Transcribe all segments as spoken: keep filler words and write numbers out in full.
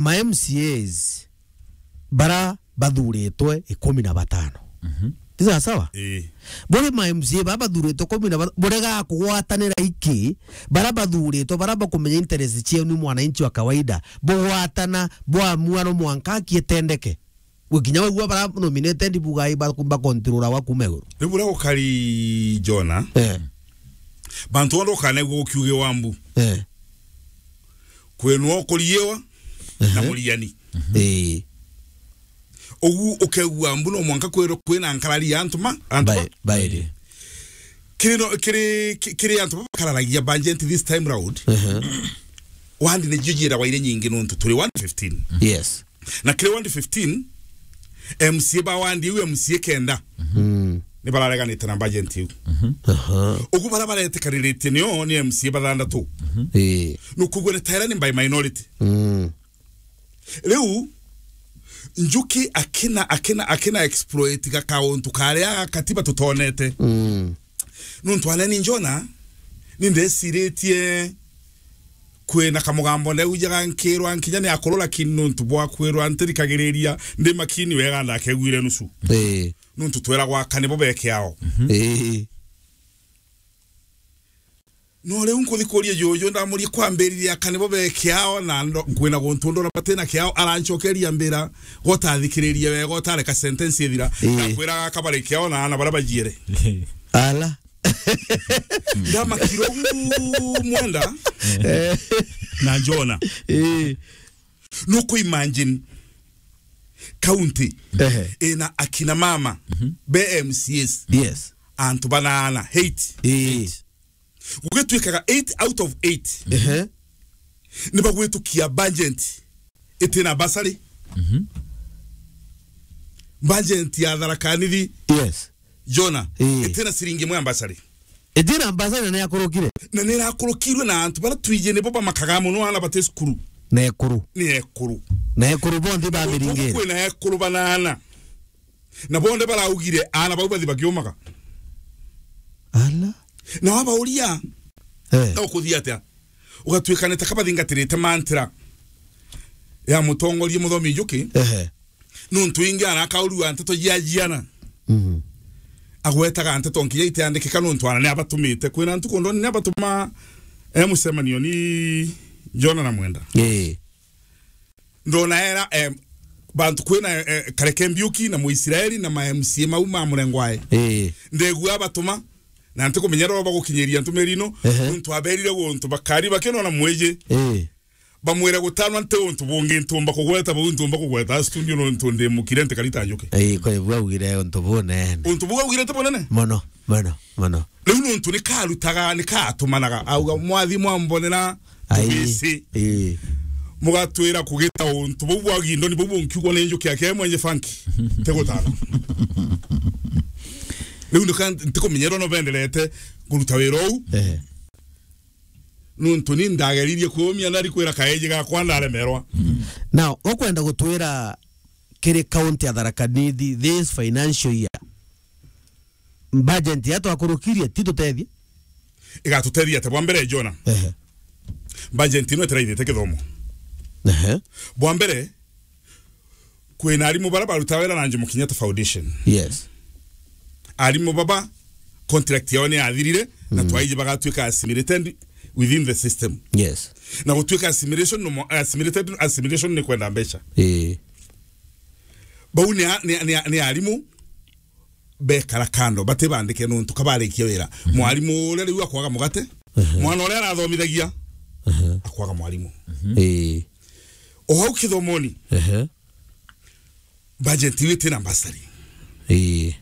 ma M C As bara bathuritwe ikumi na batano. Mhm. Ni sawa sawa? Ii. Buri ma M C A bara bathuritwe ikumi na batano, burega kugwatanira iki, bara bathuritwe, bara bakumenya interest cienu ni mwananchi wa kawaida, bugwatana, bwamua no mwanka akietendeke. Gwikinya wigua bara nominated bugai ba, ba control wa kuma iguru. Riu buria gukari Jona, eh, bantu bonthe ukanegua gukiugiwa mbu. Eh. Kwenwa ukuriiwa na, ehe, muriani. Mhm. Ii. Ugu ukegua mbu no mwanka kwirwo kwina nkarari ya antu ma, antu ba, ba, bairi. Kiri no, kiri, ki-, kiri antu bakararagia budget this time round. Ehe. Wandi ni jujira waire nyingi nontu turi one fifteen. Yes. Na kiri ward fifteen, M C A ba ward iu, M C A kenda, mm, ni barareganite na budget iu. Mhm. Aha. Ugu bara baretekaniritie nio ni M C A bathandatu. Mhm. Ii. Nukugua ni taira ni by minority. Mm. Riu, Njuki akina, akina, akina exploit gakauntu karia ga katiba tutonete. Mm. Nuntu aneni Jona, ni ndeciritie kwina kamugambo ndeujaga nkirwa nkinya ni akuru, lakini nuntu bwa kwirwa ntirikagiriria ndi makini wega ndakegwire nusu. Ii. Nuntu tweragwa aka nibo bekiao. Mhm. Ii. No riu nkuthi kuria juju, ndamurie kwambiriria aka nibo bekiao, na ndo-, kwina guntu ndona batina kiao, arancokeria mbira, gotathikiririe wega, utareka sentence ithira, ii, nakwiraga aka bari kiao na ana bara bajiere. Ala. Ndamakira ugu Mwenda. Eh. Na Jona. Ii. Nuku imagine county, ehe, ina akina mama, mhm, be M C As. Yes. Antu banana, eight. Ii. Gugituikaga eight out of eight. Ehe. Ni bagwitukia budget itina bursary. Mhm. Budget ya Tharaka Nithi. Yes. Jona, ii, itina ciringi imwe ya bursary. Itina bursary na ni akurukire. Na ni irakurukirwe na antu bara twiji nibo bamakaga muno ana bati cukuru. Na ekuru. Ni ekuru. Na ekuru bonthe ba miringiri. Kwina ekuru banana. Na bonthe baraugire ana bau bathi bakiumaga. Ala. Na wabauria, eh, na ukuthia atia? Ugatuika ni ta kabathingatirite mantira ya mutongoria Muthomi Njuki. Ehe. Nuntu ingi ana akaurua nteto jia jiana. Mhm. Agwetaga nteto nkinya itiandikika nuntu ana ni abatumite. Kwina ntuku ndoni ni abatuma, eh, mucemanio ni Jona na Mwenda. Ii. Ndona era, eh, bantu kwina, eh, Kareke Mbiuki na Muisraeli na ma M C A mau ma murengo ae. Ii. Ndegua abatuma, na ntikumenya ro bagukinyiria ntumiri ino, ehe, nuntu aberire guntu bakari bakinona mwiji. Ii. Bamwire gutanwa nti untu bungi ntumba kugweta, bau ntumba kugweta studio nuntu ndi mukire ntikarita njuki. Ii, kwa hivyo augire untu bunene. Untu buu augire ti bunene? Mono, mono, mono. Riu nuntu ni karutaga, ni katumanaga, auga, "Mwathi mwambonera, ai, tubisi." Ii. Mugatwira kugita untu buu bwa gindoni buu bunkiugwa ni njuki yake mwenye funky. Ti gutana. Riu ndika-, ntikumenyerwa no benderete kuruta wira uu. Ehe. Nuntu ni ndageririe kuumia ndari kwira kaeji gakwa ndaremerwa. Now, ukwenda gutwira kiri county ya Tharaka Nithi this financial year, budget ya twakurukirie ti tutethie? Igatutethia atia? Bwa mbere, Jona, ehe, budget ino itiraithite kithomo. Ehe. Bwa mbere, kwina arimu bara baruta wira na Jomo Kenyatta Foundation. Yes. Arimu baba contract yao ni yathirire, na, mm, twaiji bagatuika assimilated within the system. Yes. Na gutuika assimilation no mo-, assimilated, assimilation ni kwenda mbeca. Ii. Bau ni a-, ni, ni, ni arimu bekara kando, batibandike nontu kabarikia wira. Mhm. Mwarimu uria riu akwaga mugate, mhm, mwana uria arathomithagia, mhm, akwaga mwarimu. Mhm. Ii. O hau kithomoni, ehe, budget iu itina bursary. Ii.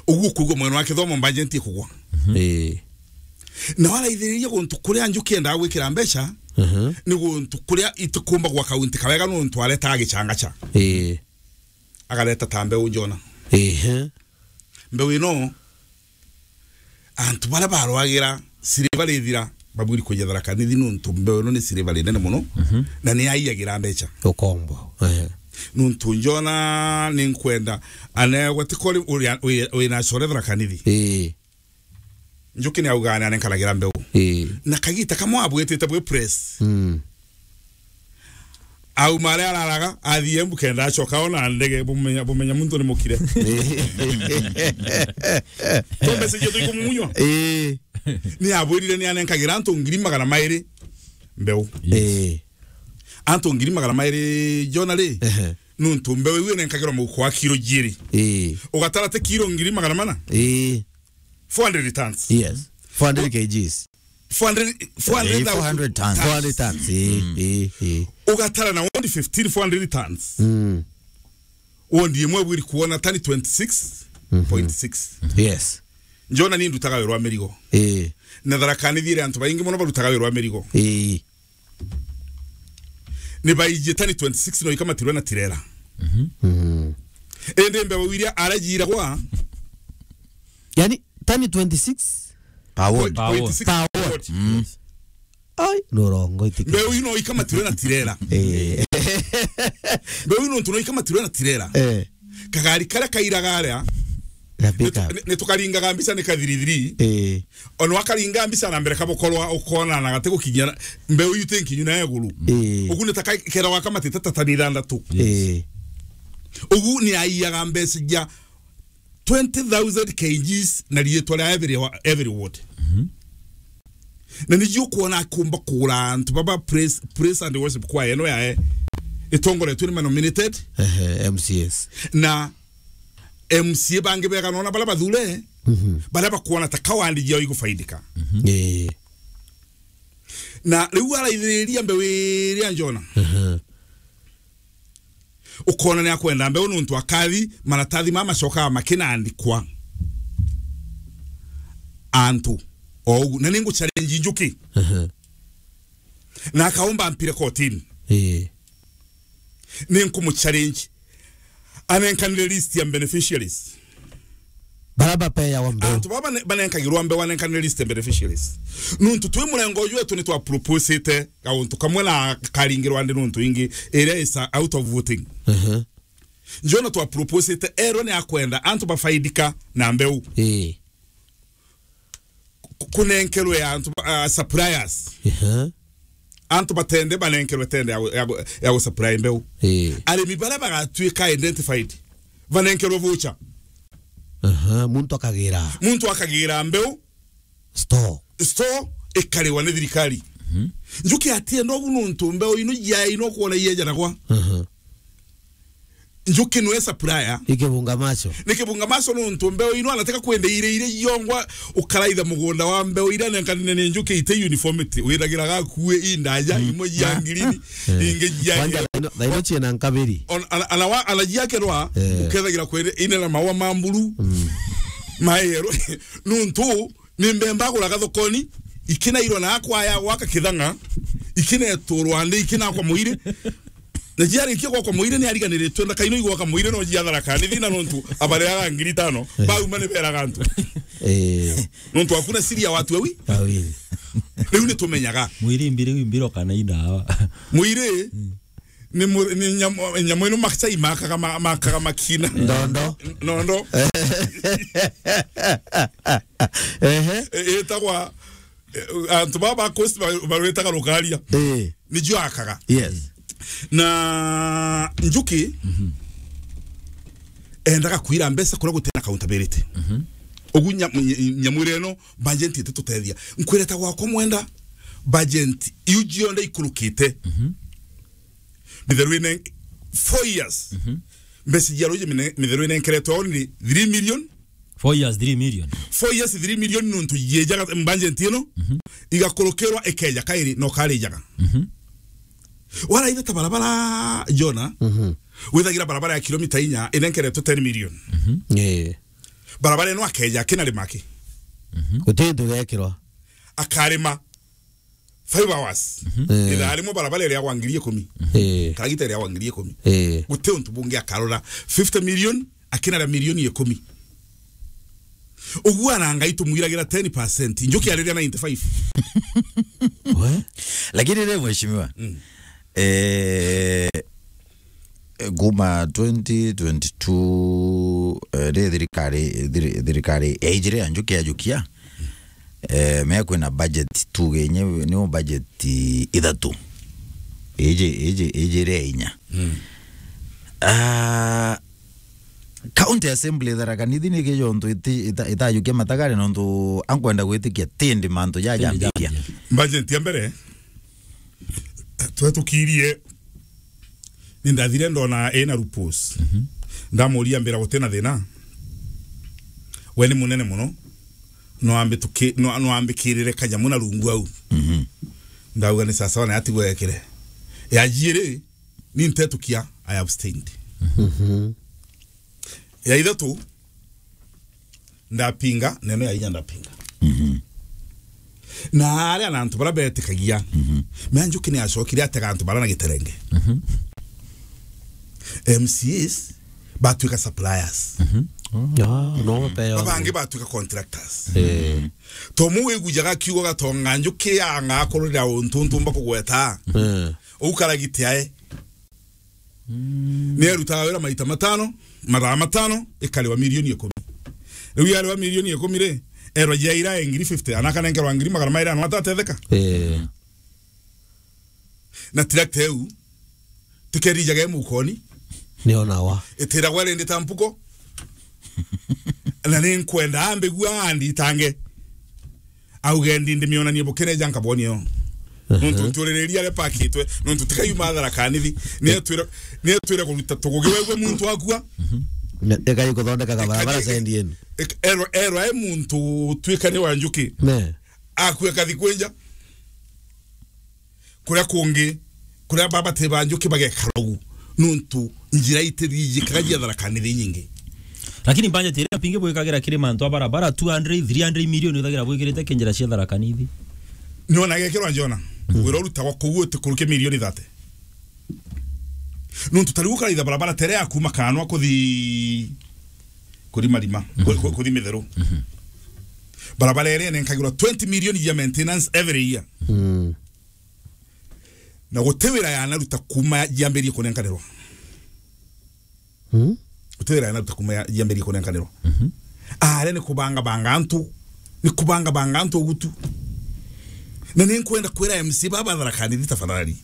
Uguo kuigua mwena wa kithomo budget ikugwa. Mhm. Ii. Na waraithiriria guntu kuria njuki endaga gwikira mbeca, mhm, ni guntu kuria itikumba gwa kaunti kawega nontu aretaga gichangacha. Ii. Agareta ta mbeu Jona. Ehe. Mbeu ino, antu baria barwagira siriva rithira, babwiri kuja Tharaka Nithi nontu mbeu ino ni siriva rinene mono, mhm, na ni yaiyagira mbeca. Ukombo. Ehe. Nontu Jona ni nkwenda, anegwa ti kori uri, uri, uri na core Tharaka Nithi. Ii. Njuki ni augaga ni anenkanagira mbeu. Ii. Na kagita kamwe abwitite bwi press. Mm. Auma aria araraga, athii Embu kenda acoka ona ndege, bumenya, bumenya muntu ni mukire. Tumbe sije tuikumunywa. Eh. Ni abwirire ni anenkagira antu ngiri magana mairi mbeu. Eh. Antu ngiri magana mairi, Jona ri, ehe, nuntu mbeu iu inenkagirwa muhuko wa kiro jiiri. Eh. Ugatara ti kiro ngiri magana mana? Eh. Four hundred tons. Yes. Four hundred K Gs. Four hundred, four hundred, eh, four hundred tons. Four hundred tons. Eh, eh, eh. Ugatara na wondi fifteen, four hundred tons. Mm. Wondi imwe bwiri kuona tani twenty-six point six. Mhm. Yes. Njona ni ndutaga wira wa mirigo. Eh. Na Tharaka Nithi iri antu baingi mono barutaga wira wa mirigo. Eh. Ni baijie tani twenty-six no ikamatirwe na tirela. Mhm. Mm. Indi mbeu iria arajiragwa, yani, tani twenty-six? Per ward. Per ward. Point six per ward. Mm. Ai, nurongo itiki. Mbeu ino ikamatirwe na tirela. Eh. Mbeu ino ntu no ikamatirwe na tirela. Eh. Kagari karia kairaga aria, na pick up, ni, ni tukaringaga mbica ni kathirithiri. Eh. Ono akaringa mbica na mbere kabokorwa ukona na gati gukinyia na, mbeu iu ti nkinyu na iguru. Eh. Ugu ni ta ka-, kera wakamatite ta tani ithanthatu. Yes. Eh. Ugu ni aiyaga mbeca ja twenty thousand K Gs na riitwa ria every wa-, every ward. Mhm. Na niji ukwona akumba kugura antu baba praise, praise and worship choir ino yae itongoretwe ni manominated. Ehe, M C As. Na M C A bangi bega nona baria bathure, mhm, baria bakwona ta ka wandi jiao igufaidika. Mhm. Eh. Na riu araithiriria mbeu iria Njona. Mhm. Ukona ni akwenda mbeu nuntu akathi, maratathi ma macokaga makinandikwa antu o ugu. Na ni ngu challenge Njuki. Mhm. Na akaomba ampire kotini. Eh. Ni nkumu challenge. Anenkanire list ya beneficiaries. Bara bapeawa mbeu. Antu baba bane-, banenkagirwa mbeu, anenkanire list ya beneficiaries. Nuntu twi murengo uju wetu ni twa proposite gauntu kamwe na karingirwa ndi nuntu ingi, iria is out of voting. Mhm. Njona twa proposite, erwe ni akwenda antu bafaidika na mbeu. Eh. Ku-, kunenkerwe antu ba-, ah, suppliers. Ehe. Antu batende banenkerwe tende ya gu-, ya gu-, ya gusupply mbeu. Eh. Arimi baria bagatuika identified, banenkerwe voucher. Aha, muntu akagira. Muntu akagira mbeu. Store. Store ikariwa ni thirikari. Mhm. Njuki atienda ugu nuntu mbeu ino jia ino kuona iyejanagwa. Aha. Njuki nwe supplier. Ni kibunga macho. Ni kibunga macho nuntu mbeu ino anataka kwenda ire ire yongwa ukaraitha mugunda wa mbeu ira nenkanine ni njuki ite uniformity. Withagira gakue indaja, mm, imwe jia, ah, ngirini, eh, ingi jia, kwanza, thaino, thaino ciena nkabiri. On-, ana, ana wa, ana jia kerwa, eh, ukethagira kwere ine na maua ma mburu. Mm. Maero. Nuntu ni mbemba aguraga thokoni, ikinairwa na akwa ya gwaka kithang'a, ikineturwa ndi, ikinakwa muiri. Na jiarikia gwakwa muiri ni ariganiritwe, na kaino igwaka muiri no jia Tharaka Nithi na nuntu abareaga ngiri itano, eh, bauma ni beraga antu. Eh. Nuntu hakuna siri ya watu wawili. Wawili. Riu ni tumenyaga. Muiri mbiri, mbiro kana indawa. Muiri, mm. Ni mu-, ni nyamu, nyamu ino makchai makaga ma-, makaga makina. Ndondo. Nondo. Ehe. E-, itagwa, e, antu baba ba coast ba-, barwitaga rukaria. Eh. Ni jio akaga. Yes. Na njuki, mhm, endaga kwira mbeca kuria gutina accountability. Mhm. Ugu nya-, ny-, nyamu ino, budget ititutethia. Nkwireta gwakwa mwenda, budget iu jionthe ikurukite. Mhm. Mitheru ine, four years. Mhm. Mbeca cia ruji mine-, mitheru inenkeretwe only three million. Four years, three million. Four years, three million nuntu yejaga budget ino, mhm, igakurukirwa ikeja kairi no karijaga. Mhm. Waraitha ta barabara, Jona, mhm, withagira barabara ya kilomita inya inenkeretwe ten million. Mhm. Eh. Barabara ino akeja akina rima ki? Mhm. Guti ntu gekirwa. Akarima. Five hours. Mhm. Eh. Ithaa rimwe barabara iria gwa ngiri ikumi. Eh. Karagita iria gwa ngiri ikumi. Eh. Guti untu bungi akarora. Fifty million, akinaria milioni ikumi. Uguo ana Ngai tumwiragira ten percent. Njuki ariria ninety-five. We? Lakini ri, mheshimiwa, mm, eh, kuma twenty twenty-two, eh, ri thirikari, thiri-, thirikari yaijire ya Njuki ya Jukia, eh, me kwina budget tuge nye, niyo budget ithatu. iji, iji, iji ria inya. Mm. Ah, County Assembly Tharaka Nithi ni kijontu iti-, ita-, itajukia matagare nontu ankwenda gwitikia tindi mantu jajambikia. Tindi jambia. Budget ya mbere, twetukirie, ni ndathire ndona ena Rupus. Mhm. Ndamuria mbira gutina thina. We ni munene muno. No ambi tuki-, no, no ambikirire kanyamu na rungu au. Mhm. Ndauga ni sawa sawa na atigwe ekire. Ya jiiri, ni ntetukia, I abstained. Mhm. Ya ithatu, ndapinga, neno ya inya ndapinga. Mhm. Na aria na antu bara betikagia, mhm, mea Njuki ni acokire atega antu bara na giterenge. Mhm. M C As batuika suppliers. Mhm. Ah, no, pe yo. Babangi batuika contractors. Eh. Tomu wigujaga kiugo gatonga Njuki anga akururira untu ntumba kugweta. Eh. Ukaragite ae. Mm. Ni erutaga wira maita matano, mathaa matano, ikariwa milioni ikumi. Riu yariwa milioni ikumi ri, erwa jaira ngiri fifty, ana akanenkerwa ngiri magana mairi, ana atatetheka. Eh. Na tirakta iu, tikerijaga i mukoni. Ni ona wa. Itiragwa rindi ta mpuko. Na ni nkwenda ambigua anditange. Auge ndi ndimionanie bukene ja nkaboni yo. Aha. Nontu ntuririria aria pakitwe, nontu tikayuma Tharaka Nithi. Ni atwira, ni atwira kuruta tugugi wegwe muntu akua. Mhm. Ne-, ekai kuthondeka kabarabara sendi yenu. Ek-, erwa, erwa e muntu twikane wa Njuki. Ne. Akue kathi kwenja. Kuria kungi, kuria baba te ba Njuki bagekara ugu, nontu njira itirijikaga jia Tharaka Nithi nyingi. Lakini budget iria pingi bwikagira kiri mantu a barabara two hundred, three hundred million ithagira bwikirite ki njira cia Tharaka Nithi. Niona gekirwa njona, mm, wira urutagwa kuu utikurukia milioni thirty. Nontu tariu ukaraitha barabara tere ya kuma Kanwa kuthi, kuthi Marima, ku-, ku-, kuthi Mitheru. Mhm. Barabara iria inenkagirwa twenty million ya maintenance every year. Mm. Na guti wira yanaruta kuma yambirie kunenkanirwa. Mm. Guti wira yanaruta kuma ya-, yambirie kunenkanirwa. Mhm. Aria ni kubanga banga antu, ni kubanga banga antu ugutu. Na ni nkwenda kwira M C baba Tharaka Nithi tafadhali.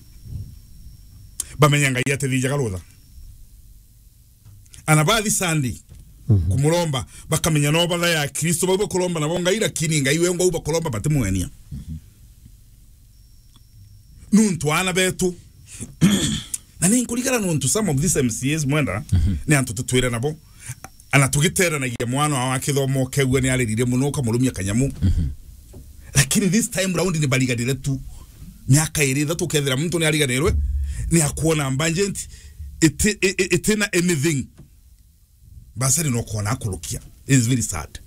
Bamenya Ngai atithijaga rutha. Ana bathi Sunday, mhm, kumuromba, bakamenya no batha ya Kristo, bau bakuromba nabo Ngai, lakini Ngai wengwa u bakuromba batimwenia. Mhm. Nuntu ana betu. Na ni nkurigara nuntu some of these M C As mwenda, mhm, ni antu tutwire nabo. Ana tugiteranagia mwana wa kithomo kegua ni aririre muno, ukamurumia kanyamu. Mhm. Lakini this time round ni bariganire tu. Miaka iri ithatu ukethira muntu ni ariganirwe, ni akuona budget iti-, i-, i-, itina anything. Basari no kuona akurukia. It's very sad.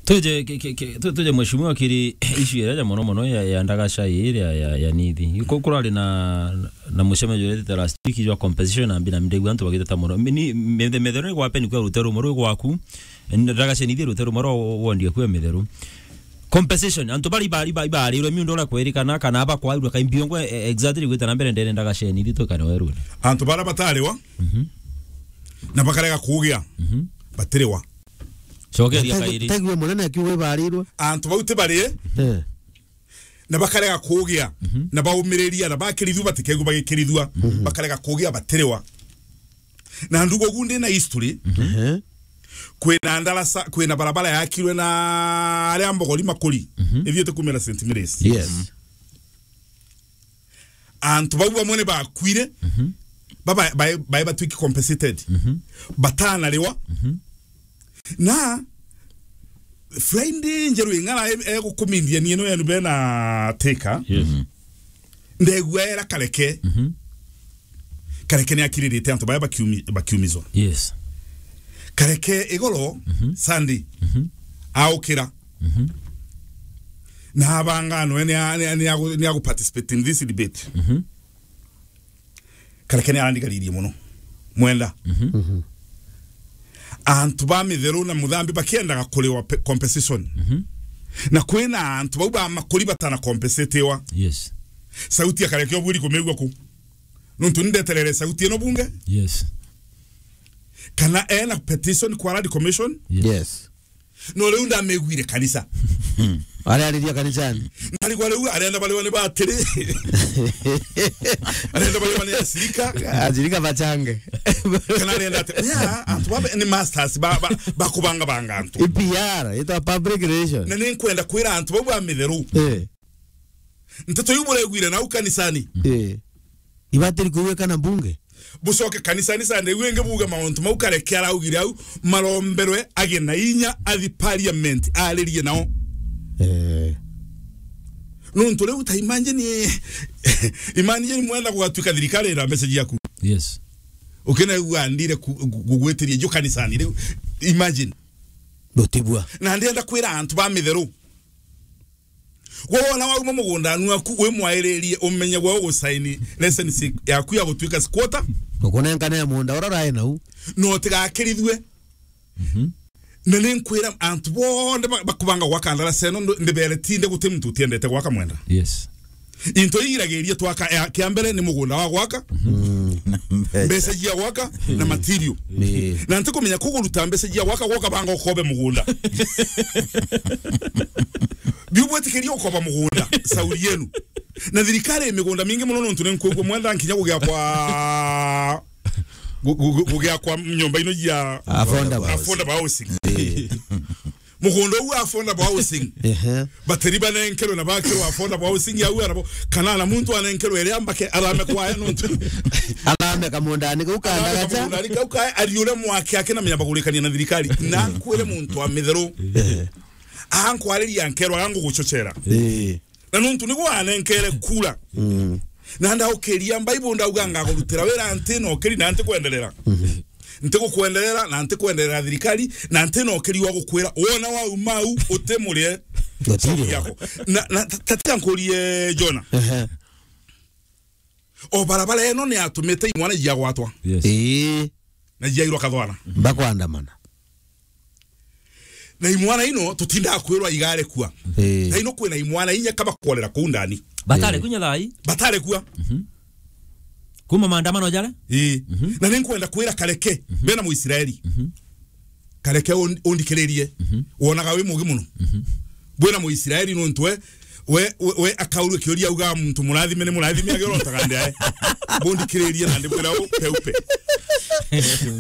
Tuje, ki-, ki-, ki-, tu-, tuje mheshimiwa kiri issue iria ya mono mono ya, ya ndagaca ii ya, ya, ya Nithi. Ku-, kurari na, na mucemanio uria twitite last week jwa compensation na mbina mindegu antu bagiteta mono. Mi-, ni, methe-, methero ni gwape ni kwa rute rumwe rwi gwaku. Ndagaca Nithi rute rumwe rwa wo-, wondi eku ya mitheru. Compensation, antu bari bari bari bari rwe miundo ura kwerikana kana aba kwairwe kai mbiongo, e-, exactly gwita na mbere ndene ndagaca Nithi tukane werune. Antu bara batariwa. Mhm. Na bakarega kugia. Mhm. Batiriwa. Cokeria kairi. Tegwe munene akiuga ibarirwe. Antu bau ti bari. Eh. Na bakarega kugia. Mhm. Na baumiriria na bakirithua batikegua bagikirithua. Mhm. Bakarega kugia batiriwa. Na ndugo gu ndi na history. Mhm. Eh. Kwina ndarasa, kwina barabara yakirwe na aria mbogori makuri. Mhm. Ithiite kumira Saint Mary's. Yes. Antu bau bamwe ni bakwire. Mhm. Baba, bae, bae batwiki compensated. Mhm. Batanariwa. Mhm. Na Friday njeru ing'ara e, e gukumindia ni ino yenu bena tika. Yes. Mhm. Ndegua era Kareke. Mhm. Kareke ni akiririte antu bae bakiumi-, bakiumizwa. Yes. Kareke igoro, mhm, Sunday. Mhm. Aukira. Mhm. Na abanga no ni a-, ni a-, ni agu-, ni agu participate in this debate. Mhm. Kareke ni arandigaririe muno. Mwenda. Mhm. Mhm. Antu ba mitheru na muthambi bakiendaga kuriwa pe-, compensation. Mhm. Na kwina antu bau ba makuri batana compensatiwa. Yes. Sauti ya Kareke obwiri kumigua ku. Nuntu nindeterere sauti ino bunge. Yes. Kana ena petition kwa Land Commission. Yes. Yes. No riu ndamiguire kanisa. Arariria kanisani. Narigwa riu arenda bariwa ni batiri. Arenda bariwa ni ashirika. Ashirika bachange. Kana arenda ati, ya, antu babe ni masters ba, ba, ba kubanga banga antu. I P R, itwa public relation. Na ni nkwenda kwira antu bau ba mitheru. Eh. Nteto iu buregwire nau kanisani. Eh. Ibatiri kuigwika na mbunge. Bucoke kanisani Sunday iu ingi buge mauntu mau Kareke araugire au maromberwe agie na inya athi parliament aririe nao. Eh. Nontu riu ta imagine, imagine mwenda gugatuika thirikari ira mbeca ciaku. Yes. Ukinegua ndire ku-, gu-, gugwitiria ju kanisani riu. Imagine. Gutibua. Na ndienda kwira antu ba mitheru. Gwe wona wauma mugundani waku, wi mwairirie umenye gwe ugusaini license yaku ya gutuika squatter. Ukunenkane ya munda ura urai nau. No utigakirithue. Mhm. Na ni nkwira antu bonthe ba-, bakubanga gwaka ndarasa ino, ndo-, ndibere tinde guti muntu utiendete gwaka mwenda. Yes. Into igiragiria twaka, ya, kia mbere ni mugunda wa gwaka. Mm. Mbeca cia gwaka na material. Ni. Na ntikumenya kuguruta mbeca cia gwaka, gwoka banga ukobe mugunda. Biu bwitikiria ukoba mugunda, sauri yenu. Na thirikari i migunda mingi muno nontu ni nkwigua mwenda nkinya gugiakwa, gu-, gu-, gu-, gugiakwa nyomba ino cia affordable, affordable housing. Eh. Mugunda uu affordable housing. Ehe. Bateri banenkerwe na bakirwa affordable housing yau arabo. Kana na muntu anenkerwe iria mbake arame kwaya nontu. Arame kamundani kau kandagacha. Arame kamundani kau kaya, ariure mwaki ake na menya bagurikania na thirikari. Na nkwire muntu wa mitheru. Eh. Ankwariria nkerwa anguguchochera. Eh. Na nontu niguo anenkere kura. Mm. Na ndaukiria Bible ndauga ngagurutira wira nti na ukiri na nti kwenderera. Mhm. Nti gukwenderera na nti kwenderera thirikari na nti na ukiri wa gukwira wona wau mau utimurie. Gutiri. Yako. Na, na ta-, tatiga nkurie Jona. Ehe. O barabara ino ni atumite imwana iagwatwa. Yes. Ii. Na iairwa kathwana. Bakwandamana. Na imwana ino tutindaga kwirwa igarekua. Ii. Na ino kwina imwana inya kaba kworera kuu ndani. Batare kunya thai. Batare kua. Mhm. Kuma maandamano jare? Ii. Mhm. Na ni nkwenda kwira Kareke, mhm, bena Muisraeli. Mhm. Kareke un-, undikiririe. Mhm. Wonaga wi mugi muno. Mhm. Bwina Muisraeli nontu we, we, we, we akaurua kiuria auga muntu murathime ni murathime agi urontaga ndi ae. Bundikiririe na ndibwira u peupe.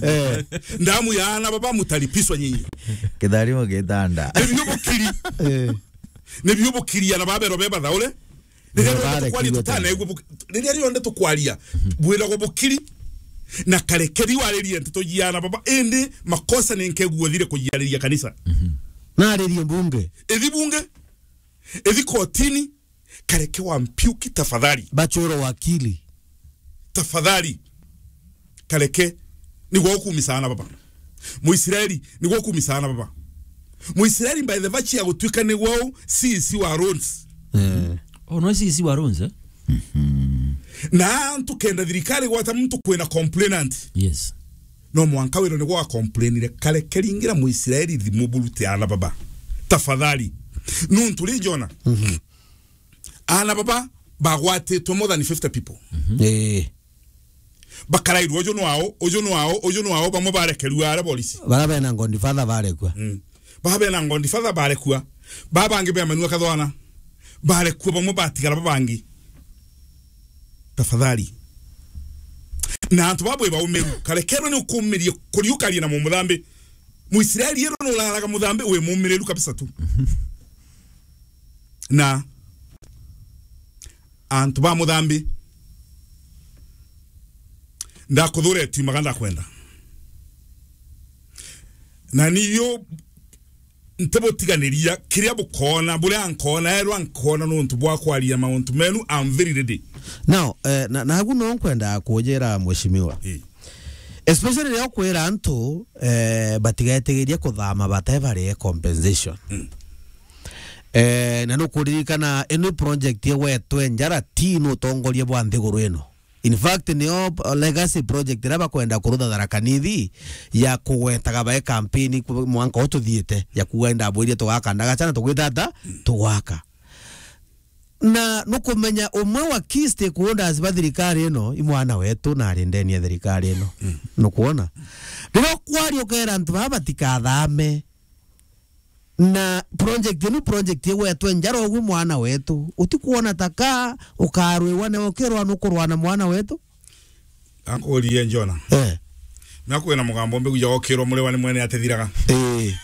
Eh. Ndamu ya ana baba mutalipiswa nyinyi. Kitharimo gitanda. Nibio bukiri. Eh. Nibio bukiri ana babero beba thaure. Riria rionthe tukwaria tutaneegua bu-, riria rionthe tukwaria, bwiragwa bukiri na Kareke riu aririe nteto jiana baba, indi makosa ni nkegua thire kujiariria kanisa. Mhm. Na aririe mbunge. Ithi bunge, ithi kotini, Kareke wa Mpiuki tafadhali. Bachoro wakili. Tafadhali. Kareke, nigwe ukumisaana baba. Muisraeli, nigwe ukumisaana baba. Muisraeli, by the virtue ya gutuika nigwe u C E C wa roads. Eh. Oh, no C E C wa roads, eh? Mhm. Na antu kenda thirikari gwata muntu kwina complainant. Yes. No mwanka wiro nigwe wa complainire. Kareke ringira Muisraeli thimu burute ana baba. Tafadhali. Nuntu ri Jona. Mhm. Ana baba bagwatitwe more than fifty people. Mhm. Eh. Bakarairwe uju nwao, uju nwao, uju nwao, bamwe barekerua aria borisi. Bara bena godfather barekua. Mm. Bara bena godfather barekua. Ba bangi bemanua kathwana. Barekua bamwe batigara babangi. Tafadhali. Na antu baba bwe baumiru. Karekerwe ni ukumirie kuriukaria na mumuthambi. Muisraeli ero no uraraga muthambi wi mumiriru kabisa tu. Na antu ba muthambi, ndakuthuretue maga ndakwenda. Na niyo ntibutiganiria kiria bukona, buria nkona, erwa nkona nontu bwa kwaria mauntu menu, I'm very ready. Now, eh, na, nagu no nkwenda kujira mheshimiwa. Eh. Especially riria ukwira antu, eh, batigetigirie kuthama bate barie compensation. Mm. Eh, na nukuririkana ino project igwetwe njara ti nutongoria bwa nthiguru ino. In fact, nio legacy project iria bakwenda kurutha Tharaka Nithi ya kugwetaga bae campaign ku-, mwanka ututhiite ya kuuga, "Indabwirie tugaka ndagacha na tugwita ata? Tugwaka." Na nukumenya umwe wa key stakeholders ba thirikari ino, i mwana wetu na ari ndeni ya thirikari ino. Mm. Nukwona? Riria ukwaria ukera antu baba batikathame, Na project inu, project igwetwe njara ugu mwana wetu. Utikuona ta ka ukarwiwa na ukirwa nukurwa na mwana wetu? Ankurie Njona. Eh. Na kwina mugambo mbigu ya ukirwa muriwa ni mwene atethiraga. Eh.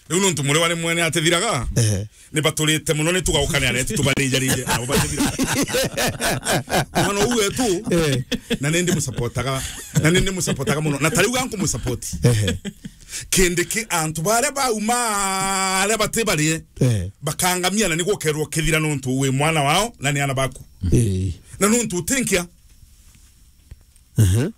Riu nuntu muriwa ni mwene atethiraga. Eh. Ni baturite muno, ni tugaukane aretu tubarinjarije, nabo batethiraga. Mwana uyu wetu, eh, na nindi musapotaga, na nindi musapotaga muno. Na tariu ganku musapoti. Eh. Kindiki antu baria bauma aria bati barie, eh, bakangamia na ni gukerwo kithira nuntu wi mwana wao na ni ana baku. Eh. Na nuntu utinkia. Mhm.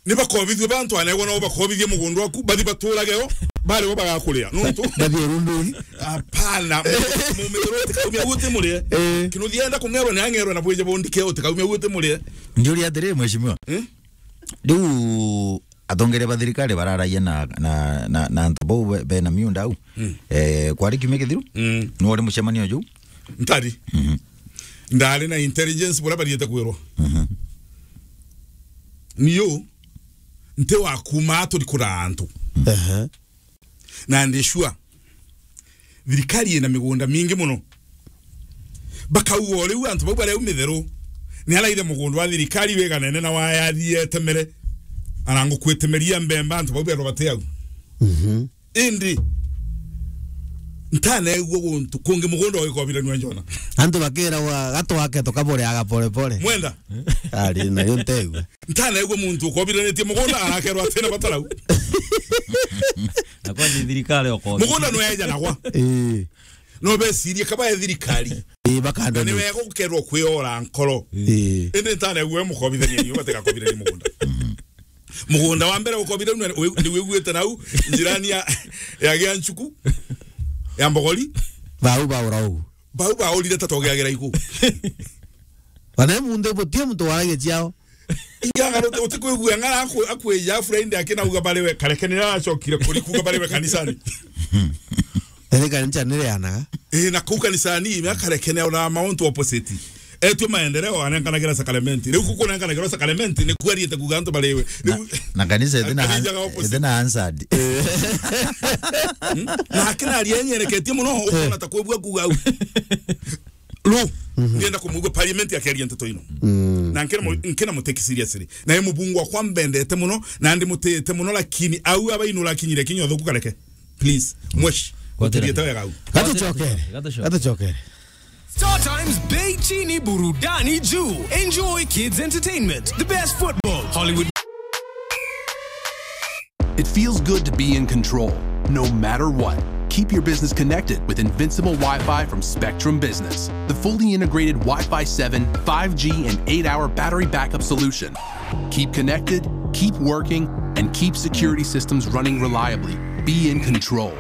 Ni bakobithue bantu anegwa nao bakobithie mugunda waku, bathi baturage o, bari bo bagakuria. Nuntu bathie rundugi. Hapana, mumithiro utikaumia guti murie. Eh. Kinuthienda kungerwa ni angerwa na bwije bondike utikaumia guti murie. Ndiuria atiri, mheshimiwa. Eh? Riu atongeria ba thirikari bararagia na, na, na, na antu bau be, bena miunda au. Mm. Eh, kwari kiumia kithiru? Mm. Nuri mucemanio juu? Ntari. Mhm. Ndari na intelligence buria bariete kwirwa. Mhm. Niu nti wa kuuma turi kuraa antu. Ehe. Na ndi sure thirikari ina migunda mingi muno. Bakauga o riu antu bau baria au mitheru, ni araithe mugunda wa thirikari wiganene na wayathiete mere, ana ngukwetemeria mbemba antu bau berwa bati au. Mhm. Indi ntaneegua guntu kungi mugunda ugikobiranua Njona. Antu bakiragwa gatwake tukabureaga pole pole. Mwenda? Ari nayo ntegua. Ntaneegua muntu ukobiranitie mugunda arakerwa atina batarau. Na kwa ni thirikari ukobira. Mugunda nweja nagwa. Ii. No becirie kaba e thirikari. Ii, bakanda. Na ni wega gukerwa kwiora nkoro. Ii. Indi ntaneegua we mukobithania niyo batigakobirania mugunda. Mugunda wa mbere ukobira ni wiguite nau njirani ya, ya Gianchuku, ya Mbogori. Bau baura u. Bau baurire ta togeagira igu. Bana mundu butie muntu waragia ciao. Ingaga utikwigua ng'ara aku-, akwija Friday akinauga bariwe karekenera acokire kuri kuga bariwe kanisani. Ere kanisa nirianaga. Eh, na kuu kanisani, me akarekenera ona mauntu opposite. Etue maendeleo, anenkanagira sakramenti. Riu kuku nenkanagirwa sakramenti, ni kwariete kuga antu bariwe. Na, riu na kanisa ithina, ithina answered. Hmm? Na akina aria enyereketie muno, ukona ta kwebua kuga au. Lu, ndienda kumwigua parliament akiaria nteto ino. Mm. Na nkina mu-, nkina muteki seriously. Na ye mubungu wakwa mbendete muno, na ndimutite muno, lakini au abainura akinyire kinya uthuku kareke. Please, mwesh. Gotera. Utiriete wega au. Gatucokere. Gatucokere. Gatucokere. Star Times Bei Chini Burudani Juu. Enjoy kids entertainment, the best football, Hollywood. It feels good to be in control, no matter what. Keep your business connected with Invincible Wi-Fi from Spectrum Business, the fully integrated Wi-Fi seven, five G, and eight-hour battery backup solution. Keep connected, keep working, and keep security systems running reliably. Be in control.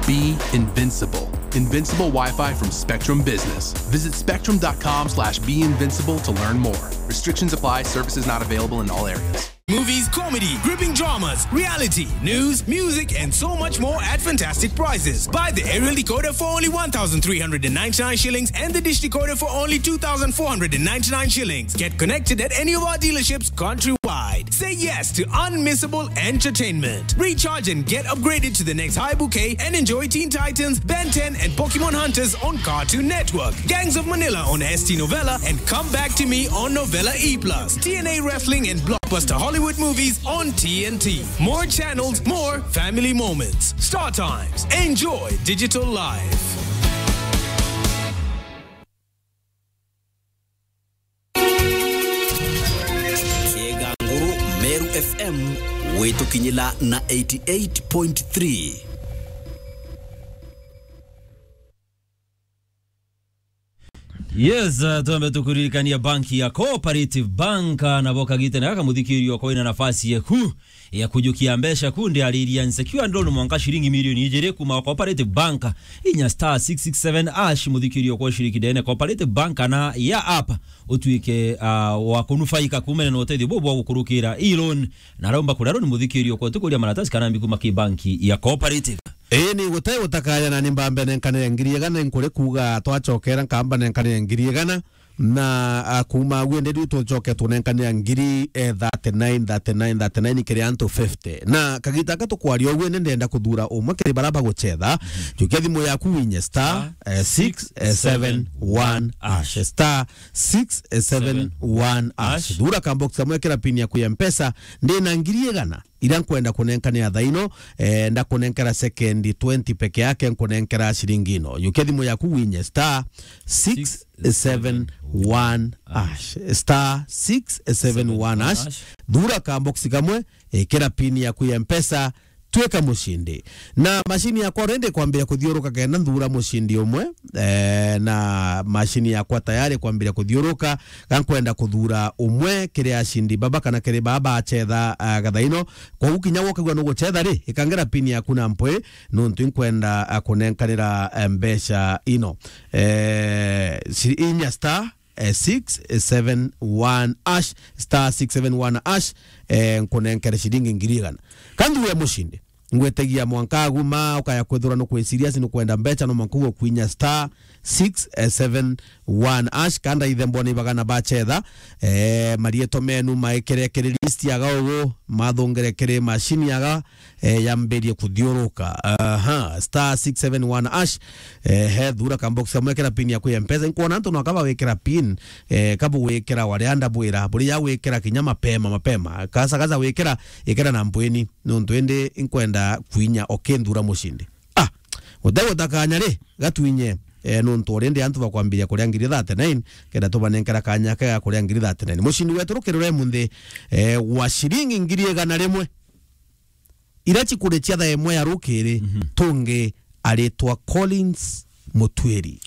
Be invincible. Invincible Wi-Fi from Spectrum Business. Visit spectrum dot com slash be invincible to learn more. Restrictions apply. Services not available in all areas. Movies, comedy, gripping dramas, reality, news, music, and so much more at fantastic prices. Buy the aerial decoder for only one thousand three hundred and ninety-nine shillings and the dish decoder for only two thousand four hundred and ninety-nine shillings. Get connected at any of our dealerships countrywide. Say yes to unmissable entertainment. Recharge and get upgraded to the next high bouquet and enjoy Teen Titans, Ben ten, and Pokemon Hunters on Cartoon Network, Gangs of Manila on S T Novella, and Come Back to Me on Novella E plus, T N A Wrestling and blockbuster Hollywood movies on T N T. More channels, more family moments. Star Times. Enjoy digital life. Kieganguru, Meru F M, gwitukinyila na eighty-eight point three. Yes, uh, twambe tukuririkania banki ya Cooperative Bank, uh, nabo kagite na gaka muthikiririo kwa ina nafasi yeku ya kujukia mbeca ku ndiariria nsekiwa ndoni mwanka shilingi milioni ijiri kuma Cooperative Bank, inya star six six seven hash, muthikirio kwa ushiriki ndene Cooperative Bank kana ya app, utuike, ah, wa kunufaika kumene na utethio bubu bwa gukurukira e-loan na raumba kuria loan muthikirio kwa tukuria maratasi kana mbiku maki banki ya Cooperative. Ii, ni gutai gutakaya na ni mbambe nenkanire ngiri igana, nkuri kuga twacokera nkamba nenkanire ngiri igana, Na, ah, kuuma agu ende riu tucoke tunenkanira ngiri, eh, thirty-nine, thirty-nine, thirty-nine kiri antu fifty. Na kagita gaka tukwaria ugu ende ndenda kuthura umwe kiri bara bagucetha. Jukia thimu yaku winye star, eh, six seven one hash. Star six seven one hash. Thura ka box kamwe, kira pin yaku ya Mpesa. Ndina ngiri igana. Ira nkwenda kunenkanira thaa ino, eh, ndakunenkera sekendi twenty peke yake, nkunenkera ciringi ino. Jukia thimu yaku winye star six seven one hash. Star six seven one hash. Thura ka box kamwe, ikira pin yaku ya Mpesa, twika mucindi. Na mashini yakwa already kwambia kuthiuruka kenda nthura mucindi umwe, eh, na mashini yakwa tayari kwambia kuthiuruka, ga nkwenda kuthura umwe kiri acindi baba kana kiri baba acetha, ah, gathaino. Koguo kinya wokagua nugucetha ri, ikangira pin yaku na mpwi, nuntu inkwenda, ah, kunenkanira, eh, mbeca ino. Eh, ci-, inya star, eh, six seven one hash, star six seven one hash, eh, nkunenkere ciringi ngiri igana. Ka nthure mucindi, ngwetagia mwanka aguma, ukaya kwithirwa nukwi serious, nukwenda mbeca, no mwanka ugwe kwinya star six seven one hash, kanda ithe mbona ibagana bacetha, eh, marietwa menu maikire kiri list ya gaugu, mathungire kiri mashini yaga, eh, yambirie kuthiuruka. Aha, star six seven one hash, eh, he thura ka box kamwe, kira pin yaku ya Mpesa. Nkwona antu no kaba wikira pin, eh, kabu wikira wari anda bwira, buri ya wikira kinya mapema, mapema. Kasa, kasa wikira, ikira na mbweni. Nuntu indi inkwenda kwinya okinthura mucindi. Ah, gutegota kanya ri, gatwinye, eh, nuntu already antu bakwambiria kuria ngiri thirty-nine, kenda tubanenkera kanya kega kuria ngiri thirty-nine. Mucindi wetu rukirure munthi, eh, wa ciringi ngiri igana rimwe. Ira cikuri cia thaa imwe ya rukiri, mhm, tungi aritwa Collins Mutwiri.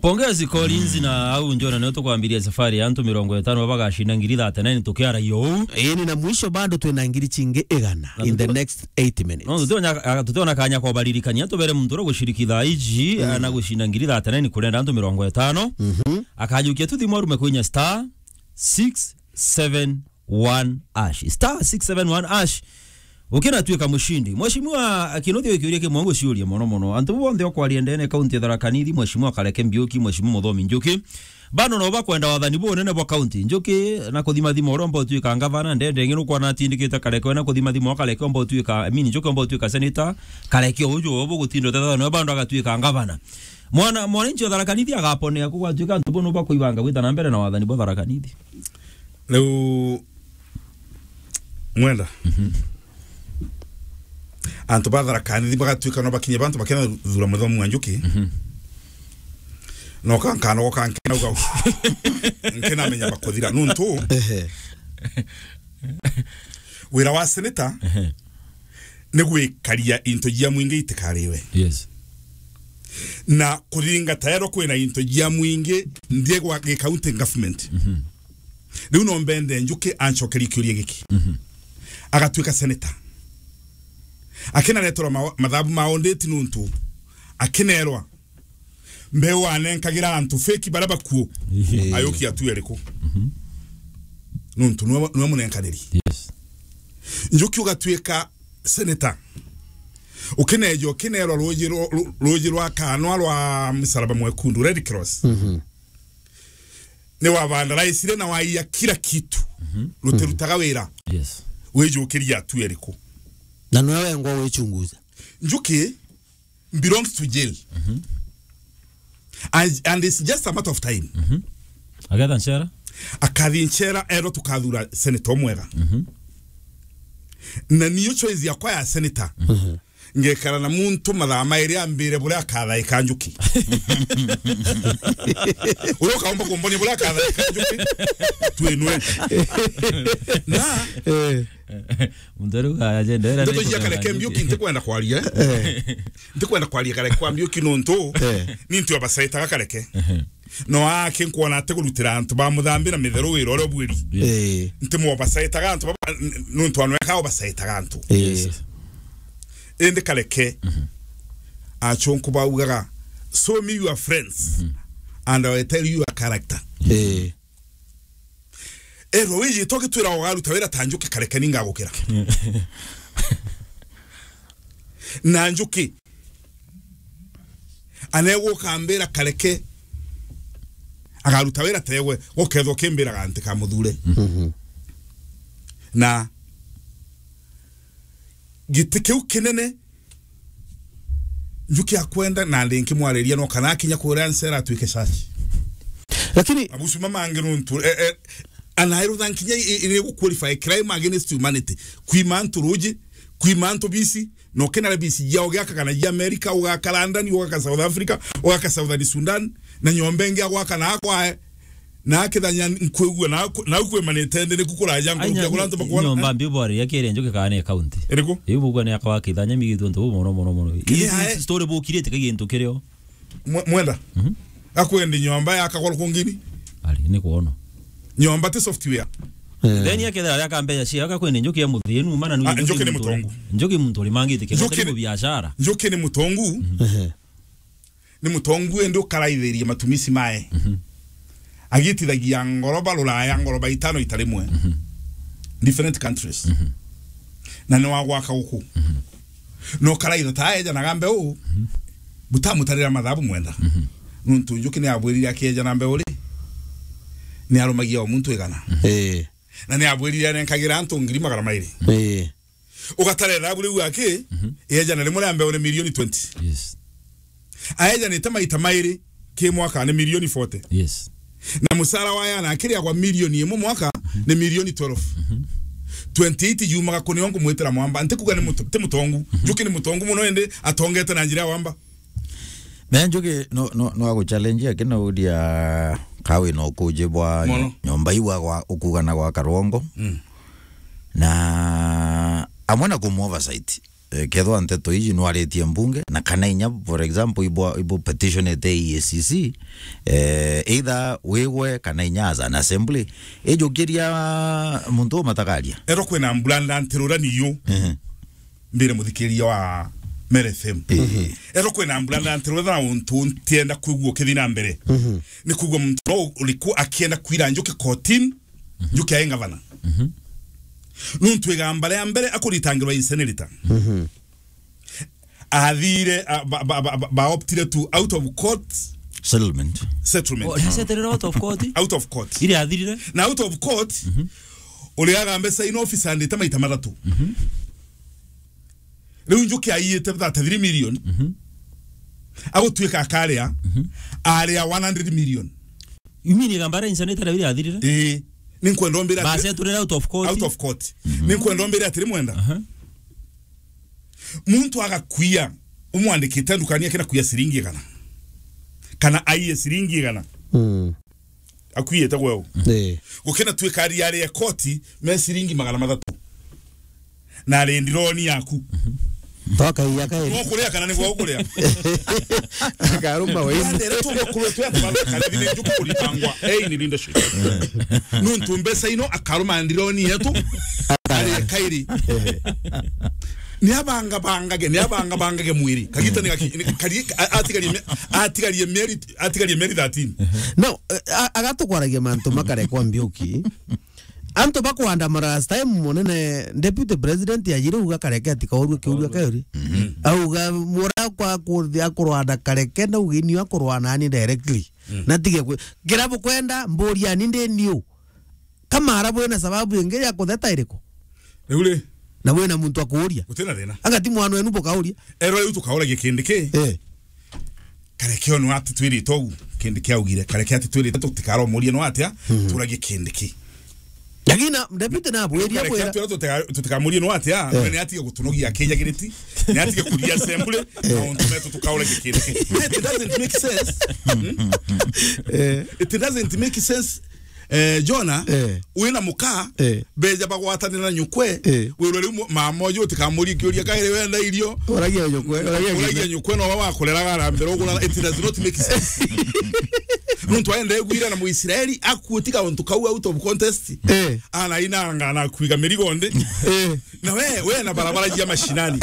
Pongezi Collins, mm, na au njona nio tukwambiria safari ya antu mirongo itano baba bagacinda ngiri thirty-nine tukiaragia uu. Ii, ni na mwisho bado twina ngiri cingi igana in the next eight minutes. No, tutiona, tutiona kanya kobaririkania, tubere muntu uria guciriki thaa iji, mm, na gucinda ngiri thirty-nine kurenda antu mirongo itano. Mhm. Akajukia tu thimu arume kwinya star six seven one hash. Star six seven one hash. Ukinatuika mucindi. Mheshimiwa Kinuthia, kiuria kimwe nguciuria mono mono. Antu bonthe okwaria ndene kaunti ya Tharaka Nithi, Mheshimiwa Kareke Mbiuki, Mheshimiwa Muthomi Njuki, bado no bakwenda wathani bunene bwa kaunti. Njuki na kuthimathima uria omba utuika ngavana, ndende ngi nukwana atindikite Kareke, na kuthimathima o Kareke omba utuika, I mean, Njuki omba utuika senator, Kareke uju obu gutinda utetha no bado agatuika ngavana. Mwana, mwananchi wa Tharaka Nithi agaponea ku gwatuika antu bono bakuibanga gwita na mbere na wathani bwa Tharaka Nithi. Riu mwenda, mhm, antu ba Tharaka Nithi bagatuika no bakinye bantu bakena thura Muthomi wa Njuki. Mhm. No kankanogoka nkenauga nkenamenya bakuthira nuntu, ehe, wira wa senator, ehe, ni gwikaria into jia mwingi itikariwe. Yes. Na kuthingata ero kwina into jia mwingi nthie gwa gi county government. Mhm. Riu no mbende Njuki ancokerie kiuria giki. Mhm. Agatuika senator. Akinareterwa ma-, mathabu ma audit nuntu akinerwa mbeu anenkagira antu fake bara bakuo. Ehe. Ayuki atu eriku? Mhm. Nuntu niwe, niwe munenkaniri. Yes. Njuki ugatuika senator. Ukineja, ukinerwa ruji rwa, ru-, ruji rwa kanwa rwa Msalaba Mwekundu, Red Cross. Mhm. Ni wavandaraisire na waiya kila kitu. Mhm. Rutirutaga wira. Yes. Wijukiria atu eriku? Na niwe wengwa wichunguza. Njuki belongs to jail. Mhm. And, and it's just a matter of time. Mhm. Agetha nchera? Akathi nchera, ero tukathura senator mwega. Mhm. Na niyo choice yakwa ya senator. Mhm. Ngekara na muntu mathaa mairi ambire buria akathaika Njuki. Uria ukaomba kumbonia buria akathaika Njuki, twinwe. Na, eh, muntu riu ajendera ndeto cia Kareke Mbiuki ntikwenda kwaria. Eh. Ntikwenda kwaria Kareke kwa Mbiuki nuntu, eh, ni ntu abacaitaga Kareke. Ehe. No ake nkwona ati kurutira antu ba Muthambi na Mitheru wira uria ubwiri. Yes. Eh. Nti mwobacaitaga antu baba, n-, nuntu anweka obacaitaga antu. Eh. Yes. Indi Kareke, mhm, achunku baugaga, "Show me your friends, mhm, and I will tell you your character." Eh. Erwa wijitwa gitwira ugaruta wira ta Njuki Kareke ningagukira. Na Njuki anegwa ukambira Kareke Agaruta wira tegwe, gukethwa kimbiraga nti ka muthure. Mhm. Na giti kiu kinene, njuki akwenda na ndi nkimwariria no kana akinya kuria ncera atwike caci. Lakini mabusu mamangi nuntu, eh, eh, anairutha nkinya i-, i-, iri gu qualify crime against humanity. Kwima antu ruji, kwima antu bisi, no kena bisi ya ugaka kana ya America, ugaka London, ugaka South Africa, ugaka Southern Sudan, na nyomba ingi agwaka na akwae. Na akithanya nkwigua na ku-, na kwemanite ndi niku kuraja nkurukia kura antu bakwona. Nyomba mbi bwari ya kiri njuki kana ni county. Iriku? Iu bugwa ni akwa akithanya migithu ntu mono mono mono. Ii, ae. Story bukirite ka gintu kirio. Mwe-, mwenda? Mhm. Akwendi nyomba ya kagoro kungini? Ari, ni kuona. Nyomba ti software. Eh. Then ya kethira ya kambeja cia, akakwendi njuki ya muthinu, mana ni. Ah, njuki ni mutongu. Njuki muntu uri mangite kenda. Njuki ni biashara. Njuki ni mutongu. Mhm. Ehe. Ni mutongu indi ukaraithiria matumisi mae. Mhm. Agitithagia ngoroba ruraya, ngoroba itano ita rimwe. Mhm. Different countries. Mhm. Na ni wa gwaka guku. Mhm. No karaitha ta ejanaga mbeu, mhm, butamutarira mathabu mwenda. Mhm. Nuntu njuki ni abwirire akiejana mbeu ri, ni arumagia o muntu igana. Mhm. Eh. Na ni abwirire anenkagira antu ngiri magana mairi. Eh. Ugatara ithabu riu aki, mhm, ejana rimwe ria mbeu ni milioni twenty. Yes. Aejanite maita mairi ki mwaka ni milioni forty. Yes. Na mucara wa yana akiriagwa milioni imwe mwaka, mhm, ni milioni twelve. Mhm. Twenty-eight yumaga kuni o ngumwitira mwamba. Nti kuga ni muto-, ti mutongu. Mhm. Njuki ni mutongu muno indi atongete na njira ya wamba. Me njuki no, no, no aguchallenge aki no udia kawi no kuji bwa. Mono. Nyomba iwa gwa ukugana gwa karongo. Mm. Na amwe na kumu oversight. Eh, kethwa nteto iji nwaritie mbunge, na kana inya, for example, ibo, ibo petitionete E A C C, eh, either wigwe kana inya as an assembly, ijukiria muntu umatakaria. Ero kwina mbura ndantirura niyo. Ehe. Mbire muthikiria wa Mere F M. Ehe. Ero kwina mbura ndantirura na untu ntienda kwigua ukithi na mbere. Mhm. Ni kwigua muntu no uriku akienda kwira njuki kotini, mhm, njuki ae ngavana. Mhm. Nuntu igamba ria mbere akuritangirwa incinerator. Mhm. Athire, a, ba, ba, ba, ba, ba optire to out of court settlement. Settlement. Oh, ndaceterera out of court? Out of court. Ile athirire? Na out of court, mhm, uria agambe sign office andite maita mathatu. Mhm. Riu njuki aiyite thirty-three million. Mhm. Agutuika akaria, mhm, aria one hundred million. You mean igamba ria incinerator riu riathirire? Ii. Ninkwenda umbire ati baceturire out of court. Out of court. Mhm. Ninkwenda umbire atiri mwenda. Aha. Muntu agakuia, umwandikite ndukani akina kuia ciringi igana. Kana aiye ciringi igana. Mm. Akuiite gweu. Ii. Gukina twikari ari ya koti me ciringi magana mathatu. Na ari ndironi yaku. Twakaiya kairi. Ni ukuria kana ni gwa ukuria? Akaruma we. Ndere tu mukuru tu atu babe kana thine njuku kuritangwa. Ei, ni leadership. Nuntu mbeca ino akaruma ndironi yetu. Ari kairi. Ni abanga bangage, ni abanga bangage mwiri. Kagita ni gaki-, ni kari-, a-, atigarie mi-, atigarie mieri, atigarie mieri thirteen. No, eh, a-, agatukwaragia mantu makare kwa mbiuki. Antu bakwandamana last time, munene deputy president ajire uga kareke atikaurue kiuria kauri. Mhm. Auga mura kwa kuthi akurwana kareke na ugini akurwana ani directly. Mm. Na tige kwi-, kira bukwenda mburia ani ndi niu. Kama ara bwina sababu ingi ya kutheta iriku? Riu ri? Na wina muntu akuuria. Gutina thina. Anga ti mwana wenu bukauria? Ero riu tukauragia kindi ki? Eh. Kareke ono ati twirite ugu, kindi kiaugire, kareke ati twirite tutikaromurie no atia, mhm, turagie kindi ki. Lakini na, deputy na abwiria kareke bwira. Ati tutika-, tutikamurie no atia, eh, ni atige gutunogia akinyagiriti, ni atige kuria assembly, eh, na untu metu tukauragia kindi ki. It doesn't make sense. Hmm? Eh. It doesn't make sense. Eh, Jona, eh, wina muka, eh, beja bagwatanira na nyukwe, eh, wirwe riu mu-, mama uju utikamurie kiuria kairi wenda irio. Uragia nyukwe, uragia nyukwe. Uragia nyukwe no wakureraga na mbere ugura, it does not make sense. Nuntu aenda egwira na Muisraeli akuutika untu kau out of contest. Eh. Ana inanga na kuiga mirigo ndi. Eh. Na we, we na barabara jia mashinani.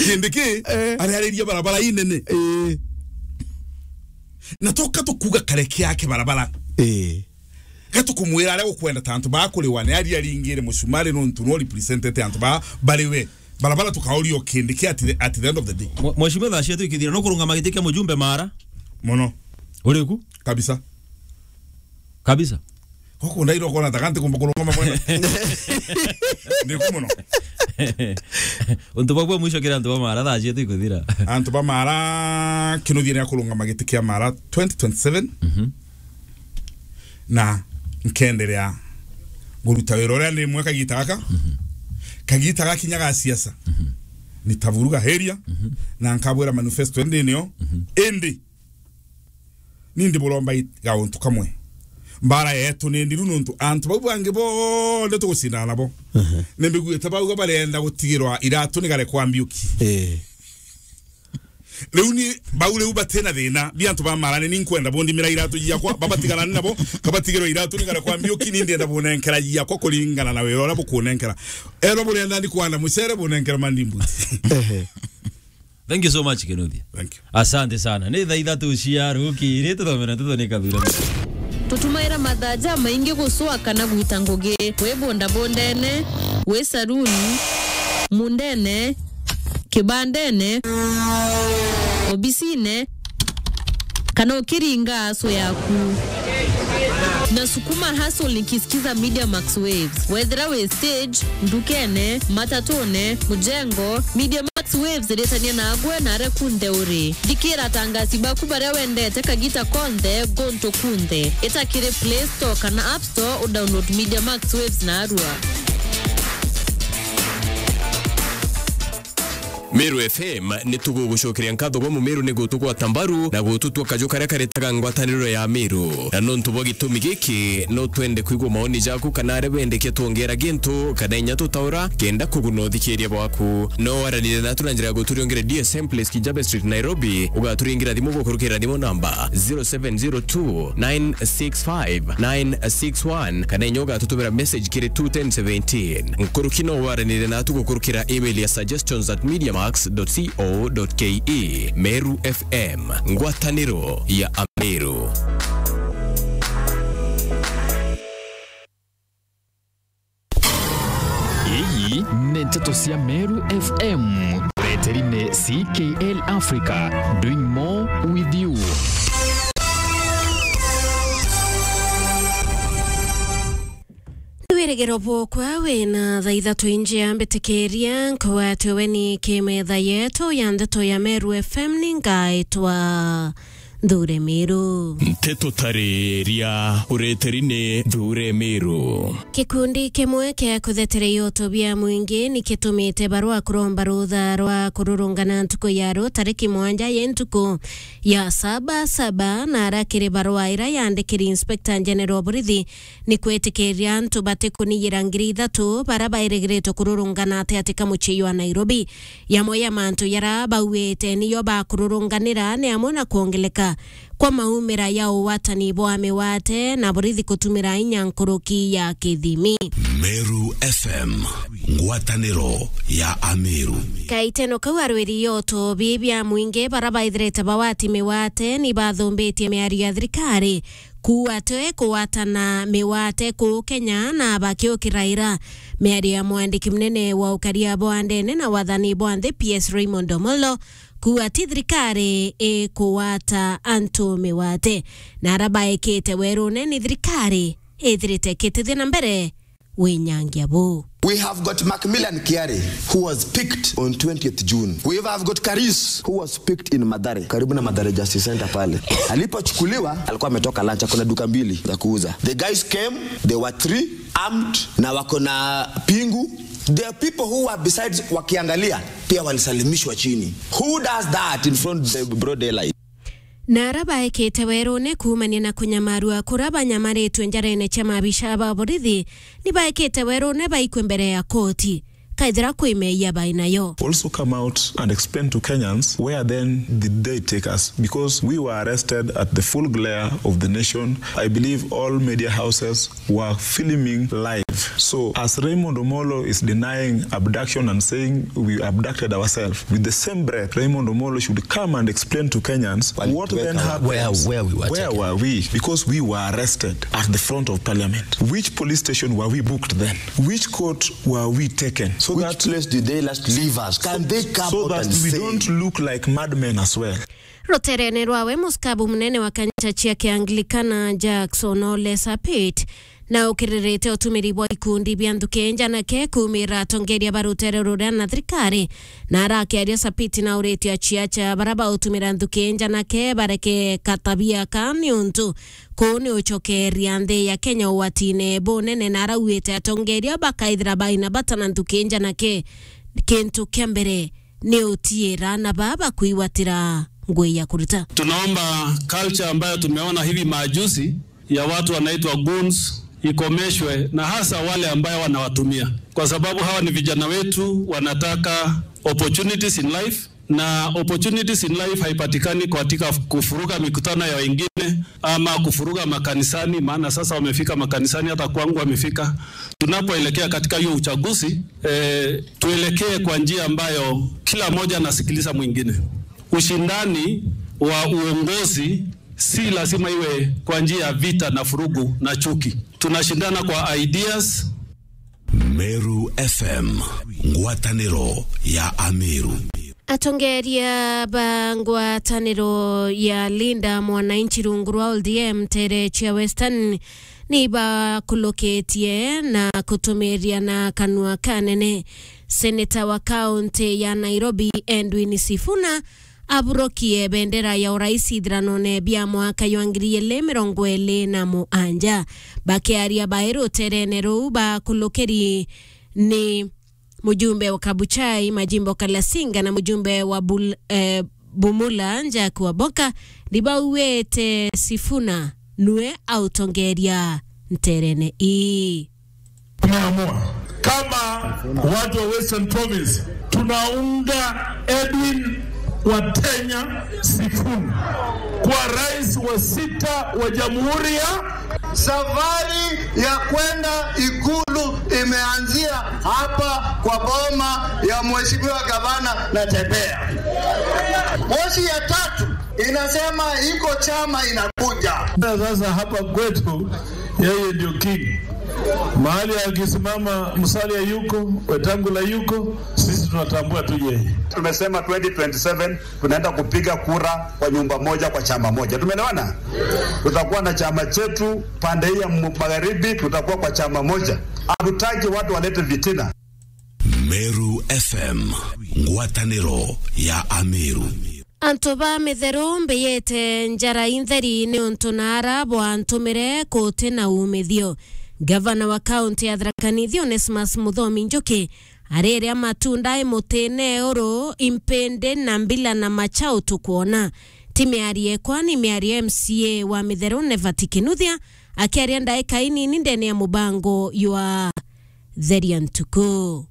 Kindi ki, eh, ariariria barabara inene. Eh. Na tuka tukuga kareke yake barabara. Eh. Ga tukumwira aria ukwenda ta antu ba kuriwa ni aria aringire mucumari nuntu no representete antu ba bariwe. Barabara tukaoria o kindi ki at the, at the end of the day. Mwe-, Mheshimiwa, thaa cietu ikithira, no kurungama giti kia mujumbe Mara? Mono. Uriku? Kabisa. Kabisa. Guku ndairo kona ta kanti kumba kurungama bwana. Ndiku muno. Untu bwa bwa mwisho kiri antu ba Mara thaa cietu ikuthira. Antu ba Mara, Kinuthia ni akurungama giti kia Mara twenty twenty-seven. Mhm. Na nkenderea nguruta wira uria ndi mwe kagita gaka. Mhm. Kagita gakinya ga siasa. Mhm. Nitavuruga heria. Mhm. Na nkabwira manifesto ndi nio. Mhm. Indi ni ndi buromba i-, gauntu kamwe. Mbara yetu ni ndiru nontu antu bau bangi bonthe tugucindana nabo. Mhm. Ni mbiguite bauga barenda gutigirwa iratu ni garekwa Mbiuki. Eh. Riu ni bau riu batina thina, bi antu ba Mara ni nkwenda bundimira iratu ciakwa, babatigana nabo, kabatigirwa iratu ni garekwa Mbiuki, ni ndienda bunenkera ciakwa kuringana na wira uria bukunenkera. Erwa burenda ni kwanda mucere, bunenkera mandimbuti. Ehe. Thank you so much, Kinuthia. Thank you. Asante sana. Ni thaa ithatu cia rukiri, tuthomera tuthoni kathura. Tutumaira mathaa jamaingi gucua kana gwita ngugi. Wi bondabondene, wi saruni, mundene, kibandene, obisine, kana ukiringa aso yaku. Na sukuma hustle nikisikiza Media Max Waves. Wethira wi stage, ndukene, matatune, mujengo, Media Max Waves iritania nagwe na aria kunthe uri. Thikira atangasi baku baria wendete kagita konthe, guntu kunthe. Ita kiri Play Store kana App Store, udownload Media Max Waves narua. Meru F M ni tugugucokeria nkatho gwa Mumeru ni gutugwata mbaru na gututua kaju karia karetaga ngwataniro ya Meru. Na nontu bwa gitumi giki, no twende kwigua maoni jaku kana aria bendekia twongera gintu kana inya tutaura kenda kuguna uthikiria bwaku. No waranire natu na njira ya guturiongere D S M Place, Kijabe Street, Nairobi. Ugaturingira thimu gukurukira thimu namba zero seven zero two nine six five nine six one, kana inya ugatutumira message kiri two ten seventeen. Nkuruki no waranire natu gukurukira email ya suggestions at mediamax dot co dot ke. Meru F M, ngwataniro ya Ameru. Ii ni nteto cia Meru F M, ureteri ni C K L Africa, doing more with you. Ni wirigiro bwokwa wina thaa ithatu injia mbitikiria, nkugwatwe we ni kimetha yetu ya ndeto ya Meru F M, ni ngaitwa Nthure Miru. Nteto tariria ureteri ni Nthure Miru. Gikundi kimwe kia kuthetereia utu bia mwingi ni kitumite barua kuromba rutha rwa kururungana ntuku ya ru tariki mwanja ya ntuku ya saba saba, na ara kiri barua ira yandikiri Inspector General wa borithi ni kwitikiria antu batikuniyira ngiri ithatu bara bairigiritwe kururungana ati ati ka mucii jwa Nairobi. Yamwe ya mantu yara bauite niyo bakururunganira ni amwe na kwongeleka kwa maumira ya ugwatani bwa miwate na borithi kutumira inya nkuruki ya kithimi. Meru F M, ngwataniro ya Ameru. Kaiteno kau arwiri yoto bibia mwingi bara baithirite bawati miwate ni bathumbitie miario ya thirikari kuuga twe kugwatana miwate kuu Kenya na bakiukira ira miario ya mwandiki munene wa ukaria bwa ndene na wathani bwa nthi, P S Raymond Omolo, kuuga ti thirikari ikugwata antu miwate, na ara baikite werune ni thirikari ithirite ikitithia na mbere winyangia buu. We have got Macmillan Kiari, who was picked on twentieth June. We have got Karis, who was picked in Mathare, karibu na Mathare Justice Center pale. Alipochukuliwa, alikuwa ametoka lunch, kuna duka mbili za kuuza. The guys came, they were three, armed, na wako na pingu. There are people who were besides wakiangalia, pia walisalimishwa chini. Who does that in front the broad daylight? Na ara baekite werune kuumania na kunyamarua kura banyamaritue njarene cia mabisha ba borithi, ni baekite werune baikue mbere ya koti kaithira kwi meeyia bai nayo. Also come out and explain to Kenyans where then did they take us, because we were arrested at the full glare of the nation. I believe all media houses were filming live. So, as Raymond Omolo is denying abduction and saying we abducted ourselves, with the same breath, Raymond Omolo should come and explain to Kenyans what then happened. Where, where we were taken. Where were we? Because we were arrested at the front of parliament. Which police station were we booked then? Which court were we taken? So which that place did they last leave us? Can they come so out that and we say don't look like madmen as well? Ruterene rwawe, muskabu munene wa kanisa cia Kianglikana Jackson Ole Sapit na ukiririte utumiri bwa ikundi bia nthuki njanake kuumira atongeria ba rutere ruria na thirikari. Na arakiaria, Sapit na uritie aciaca bara bautumira nthuki njanake bareke katabia ka, niuntu kuu ni ucokeria nthi ya Kenya ugwatine bunene, na arauite atongeria bakaithira baina bata na nthuki njanake. Kintu kia mbere ni utiira na baba kwigwatira ngui ya kuruta. Tunaomba culture ambayo tumeona hivi majuzi ya watu wanaitwa goons ikomeshwe, na hasa wale ambayo wanawatumia, kwa sababu hawa ni vijana wetu, wanataka opportunities in life, na opportunities in life haipatikani katika kufuruga mikutano ya wengine ama kufuruga makanisani, maana sasa wamefika makanisani, hata kwangu wamefika. Tunapoelekea katika hiyo uchaguzi, eh, tuelekee kwa njia ambayo kila mmoja anasikiliza mwingine. Ushindani wa uongozi si lazima iwe kwa njia ya vita na furugu na chuki. Tunashindana kwa ideas. Meru F M, ngwataniro ya Ameru. Atongeria ba ngwataniro ya Linda Mwananchi rungu rwa O D M ntere cia Western ni bakulukitie na kutumiria na kanua kanene. Seneta wa kaunti ya Nairobi, Edwin Sifuna, aburukie bendera ya urais ithiranone bia mwaka jwa ngiri igiri mirongo iri na mugwanja. Bakiaria bai ruterene ruu, bakulukiri ni mujumbe wa Kabuchai, Majimbo Kalasinga, na mujumbe wa Bul-, eh, Bumula, Jack Waboka, ni bauite Sifuna nue autongeria nterene ii. Tumeamua kama watu wa Western Province, tunaunga Edwin Watenya Sifuna kwa rais wa sita wa Jamhuri ya Safari ya kwenda Ikulu imeanzia hapa kwa boma ya Mheshimiwa Gavana Natembeya. Moshi ya tatu inasema iko chama inakuja. Sasa hapa kwetu, yeye ndio king. Mahali akisimama Musalia yuko, Wetangula yuko, sisi tunatambua tu yeye. Tumesema twenty twenty-seven tunaenda kupiga kura kwa nyumba moja, kwa chama moja. Tumeelewana? Tutakuwa na chama chetu pande hii ya mu-, magharibi, tutakuwa kwa chama moja. Hatutaki watu walete fitina. Meru F M, ngwataniro ya Ameru. Antu ba Mitheru mbiyite njara intheri niuntu naara bwantumire kuti na umithio. Gavana wa kaunti ya Tharaka Nithi, Onesmus Muthomi Njuki, ariria matunda i mutine uru, impindi na mbila na machau tukwona. Ti miario ekwa, ni miario M C A wa Mitheru, Nevat Kinuthia, akiaria ndaika inini ndene ya mubango jwa Theria Ntuku.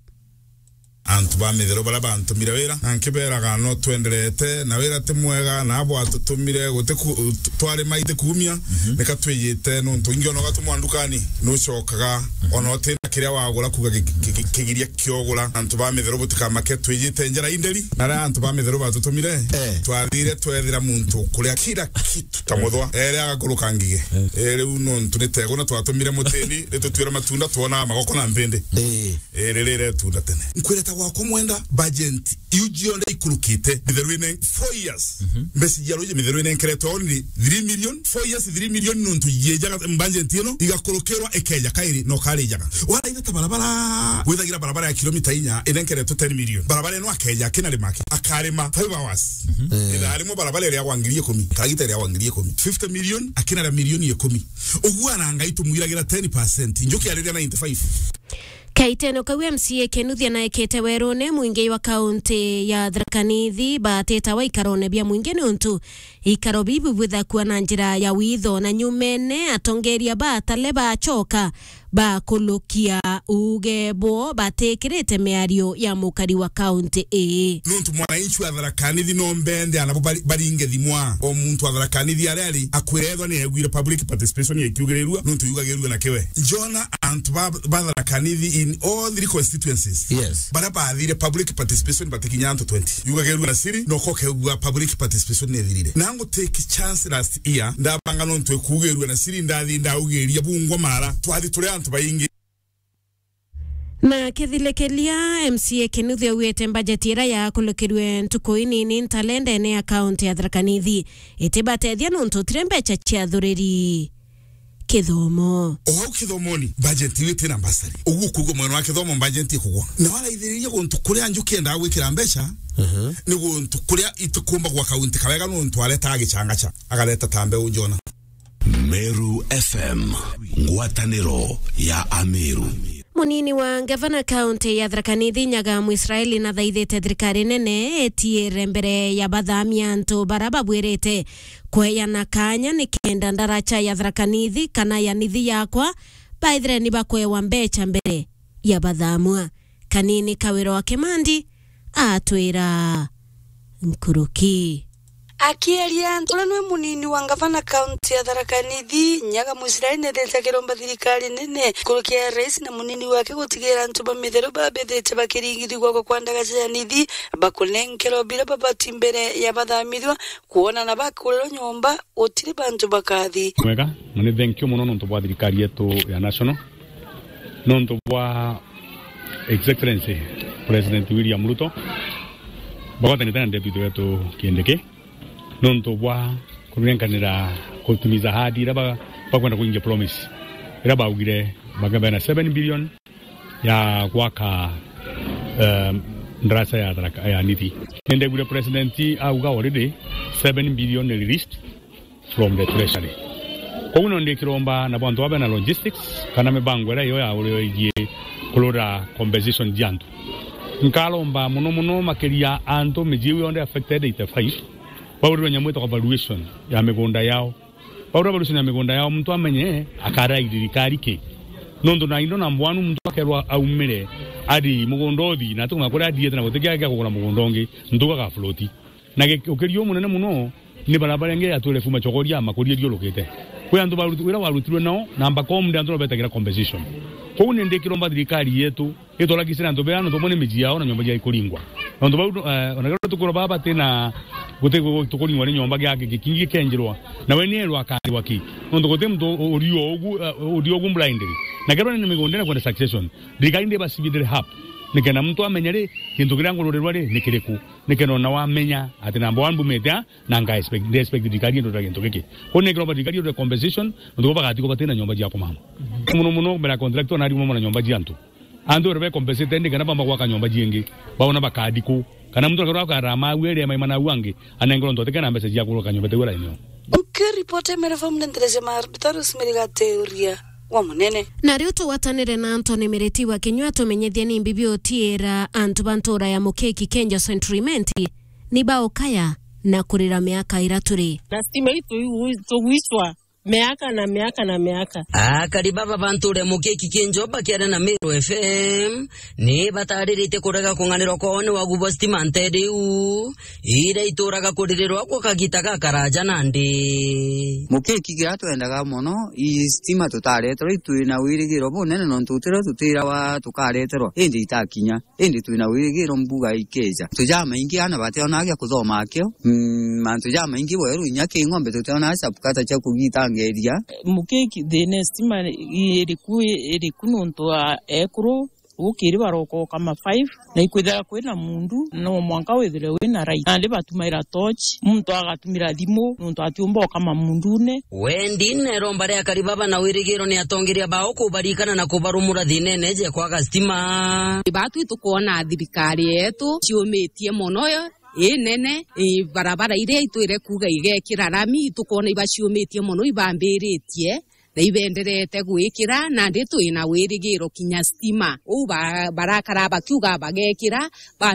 Antu ba Mitheru baria bantumire wira, na nkibeeraga no twenderete, na wira ti mwega, na abo atutumire, guti ku-, twarima iti kuumia, mhm, nika twijite, nontu ingi ona ugatumwa ndukani, nucokaga, mhm, ona utina kiria wagura, kuuga ki-, ki-, ki-, kigiria kiogura. Antu ba Mitheru butikamake, twijite njara inderi, na riria antu ba Mitheru batutumire, eh, twathire twethira muntu kuria kila kitu ta muthwa, eri agakuruka ngige. Eh, riu nontu ni teguna twatumire mutini, ritutwire matunda, twonaga magoko na mpindi. Eh. Iri riretunda tene. Nkwireta gwakwa mwenda, budget iu cionthe ikurukite, Mitheru ine four years. Mhm. Mbeca cia ruji Mitheru inenkeretwe only three million, four years, three million nontu yiejaga budget ino, igakurukirwa ikeja kairi, no karijaga. Waraitha ta barabara, withagira barabara ya kilomita inya, inenkeretwe ten million. Barabara ino akeja akina rimaki, akarima five hours. Mhm. Eh. Ithaa rimwe barabara iria gwa ngiri ikumi, karagita iria gwa ngiri ikumi. Fifty million, akina ria milioni ikumi. Uguo ana Ngai tumwiragira ten percent. Njuki ariria ninety-five. Kaitene kau M C A Kinuthia naekete werune, mwingi wa kaunti ya Tharaka Nithi batitawa ikarone bia mwingi niuntu ikaro biu bibwithakua na njira ya witho, na nyumene atongeria ba Atale bacoka bakulukia uuge bwo batikirite miario ya mukari wa kaunti ii. Nuntu mwananchi wa Tharaka Nithi no mbende anabo bari-, baringe thimwa. O muntu wa Tharaka Nithi aria ari akwira ethwa ni aiguire public participation ikiugirirua, nuntu yugagirirua na kiwe. Njona antu ba, ba Tharaka Nithi in all three constituencies. Yes. Baria bathire public participation batikinya antu twenty. Yugagirirua na siri, no kokegua public participation ni ithirire. Na ngu take chance last year, ndabanga nontu ikuugirirua na siri, ndathi ndaugiria bungwa mara. Twathi turi antu baingi. Na kithilikiria, M C A Kinuthia augite mbajeti iria yakulukirwe ntuku inini ntalendene ya kaunti ya Tharaka Nithi itibatethia nontu utire mbeca cia thuriri. Kithomo. O au kithomoni, bajeti iu itina mbasari. Uguo kuuga mwena wa kithomo bajeti ikugwa. Na waraithiriria guntu kuria njuki endaga gwikira mbeca, ni guntu kuria itikumba gwa kaunti kawega nontu aretaga gicanga ca, agareta ta mbeu njona. Meru F M, ngwataniro ya Ameru. Munini wa ngavana kaunti ya Tharaka Nithi Nyaga Mwisraeli nathaithite thirikari nene itiire mbere ya bathamia antu bara babwirite kweyana kanya nikenda ndaraca ya Tharaka Nithi kana ya Nithi yakwa baithire ni bakwewa mbeca mbere ya bathamua. Kanini Kawira wa Kimandi atwira nkuruki. Akieria antu, uria nwe munini wa ngavana kaunti ya Tharaka Nithi, Nyaga Mwisraeli nethete akiromba thirikari nene nkuruki ya rais na munini wake gutigira antu ba mitheru babethete bakiringithigua kwa kwa ndagaca ya Nithi bakunenkerwa bira babati mbere ya bathamithua kwona na bakurirwa nyomba utiri bantu bakathi. Mwega, na ni thank you muno nontu bwa thirikari yetu ya national, nontu bwa His Excellency President William Ruto, bagwatanite na deputy wetu Kindiki, nontu bwa kunenkanira kutimiza ahadi iria ba-, bakwenda kuingia promise, iria baugire bakabena seven billion ya gwaka, um, ndarasa ya Tharaka, ya Nithi. Nindegwire president auga already seven billion released from the treasury. Koguo no ndikiromba na bantu babe na logistics kana mibango iria iyo ya urio igie kurura compensation cia antu. Nkaromba muno muno makiria antu miji iu yonthe affected eighty-five, baurirwe nyamu itagwa valuation ya migunda yao. Baura valuation ya migunda yao, muntu amenye akarira thirikari ki. Nontu na indo na mbwanu muntu akerwa aumire, ari mugunda uthi, na atumwa kuria athiete na gutikia gia kugura mugunda ungi, ntuga ga float. Na ge-, ukirio munene muno, ni bara baria ngi atwire fuma chokoria makuria ithiurukite. Kwi antu baruti-, wira warutirwe nao, na mbakomde antu no betagira compensation. Kou ni ndikiromba thirikari yetu, itwara kisira antu bea, nontu bone miji yao na nyomba cia ikuringwa. Nontu bau, eh, ona kero tukura baba batina guti gu-, tukuringwa ni nyomba giake gikingi gikenjirwa. Na we ni erwa akarwa ki? Nontu guti muntu u-, urio ugu, eh, urio ugu blindly. Na kero ni migunda na kwenda succession. Thirikari ndi basibithire hap. Nikenda muntu amenye ri, kintu kiria ngururirwa ri, ni kiriku. Nikenda ona wamenya ati namba one mbumite a, na nga expect, ndi expect thirikari indutira gintu giki. Kou ni kiromba thirikari indutire compensation, nontu bo bagati ko batina nyomba cia kumama. Muno muno mbere ya contractor na arimo na nyomba cia antu. Antu ore be compensated ni kana bamba gwaka nyomba ciingi. Baona bakadi ku. Kana muntu akorwa akarama agu ere maima na agu angi, anengerwa ntu atikena mbeca cia kuroka nyomba tewe rainio. Nkiripoti Meru F M ndendereje ma Rosemary Gateuria wa Munene. Na riu tugwatanire na Anthony Miriti wa Kinyua atumenyithie ni mbibi utiira antu ba ntura ya Mukeki Kenja Century Imenti ni baukaya na kurira miaka ira turi. Na stima itu tugwicwa miaka na miaka na miaka. Akari baba ba ntura ya Mukeki Kenja bakiaria na Meru F M, ni batariritie kurega kung'anirwa kwao ni wagu bwa stima ntere iu, iria ituraga kuririrwa gwa kagita gakaraja nandi. Mukeki kiria twendaga mono, i stima tutareterwa, itwina wirigiro bunene nontu tutirio tutirawa tukareterwa, indi itakinya. Indi twina wirigiro mbuga ikeja. Mantu jamaingi ana bationaa gia kuthoma akio. Mm, mantu jamaingi bweru inya ki ng'ombe tutionaa chapukata cia kugitangeria. Mukeki thina stima iriku, iriku nontu wa ekuru, ukiri barokoka ma five, na ikwithira kwina mundu, no mwanka withire wina right. Nandi batumaira torch, muntu agatumira thimu, nontu atiumba okama mundune. Wendi neromba ria akari baba na wirigiro ni atongeria bao kubarikana na kubarumura thinene je kwaga stima. Batu itukwona thirikari yetu ciumitie mono yo, inene, i barabara iria itwire kuga igekira rami, itukwona ibaciumitie mono, ibambiritie na ibenderete gwikira, nandi twina wirigiro kinya stima. Uu ba-, barakara bakiuga bagekira, ba